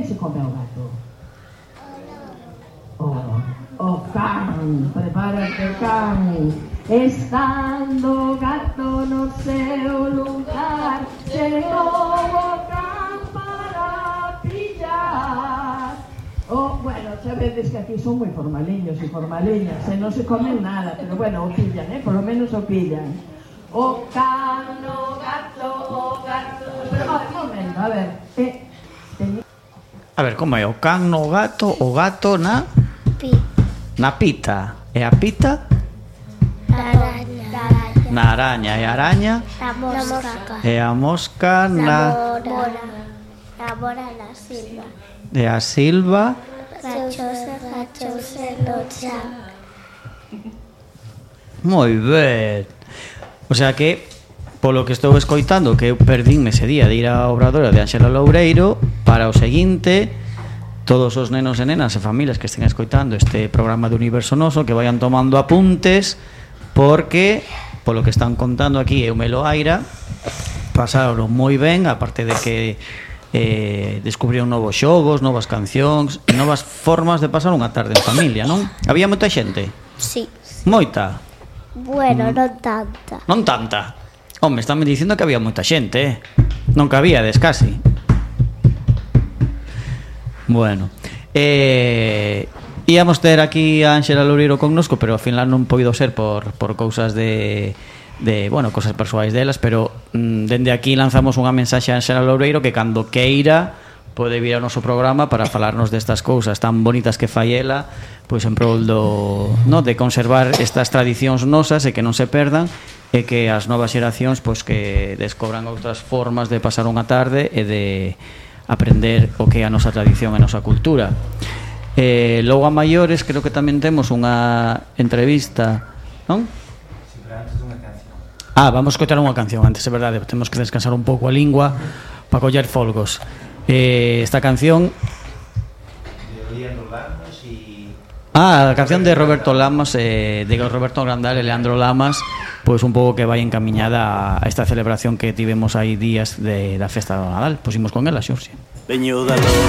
se come o gato? O can, prepárate can. Estando o gato no seu lugar, chegou o can para pillar. Bueno, xa vedes que aquí son moi formaliños e formaliñas, e non se comen nada, pero bueno, o pillan, por lo menos o pillan. O can, o gato, o gato. Pero, un momento, a ver. A ver, como é? O can no gato, o gato na... Na pita. E a pita? Na araña. E a araña? Na mosca. E a mosca na... Na mora na silva. E a silva? Gachouse no chan. Moi ben. O sea que, polo que estou escoitando, que eu perdínme ese día de ir á Obradora de Ánxela Loureiro, para o seguinte, todos os nenos e nenas e familias que estén escoitando este programa de Universo Noso, que vayan tomando apuntes, porque, polo que están contando aquí, eu me lo aira, pasaron moi ben, aparte de que descubriron novos xogos, novas cancións, novas formas de pasar unha tarde en familia, non? Había moita xente? Sí. Moita? Bueno, non tanta. Non tanta? Home, estánme dicindo que había moita xente, non cabíades casi. Bueno, íamos ter aquí a Ánxela Loureiro connosco, pero ao final non poido ser por cousas de bueno, cosas persoais delas, pero dende aquí lanzamos unha mensaxe a Ánxela Loureiro que cando queira pode vir ao noso programa para falarnos destas cousas tan bonitas que fai ela, pois en prol de conservar estas tradicións nosas e que non se perdan, e que as novas xeracións pois que descobran outras formas de pasar unha tarde e de aprender o que é a nosa tradición e a nosa cultura. Logo a maiores creo que tamén temos unha entrevista, non? Vamos a escoitar unha canción antes, é verdade, temos que descansar un pouco a lingua para coller folgos. Esta canción a canción de Roberto Lamas, de Roberto Grandal e Leandro Lamas, pois un pouco que vai encamiñada a esta celebración que tivemos aí días da festa do Nadal. Pois imos con ela, Xurxi. Veño da loro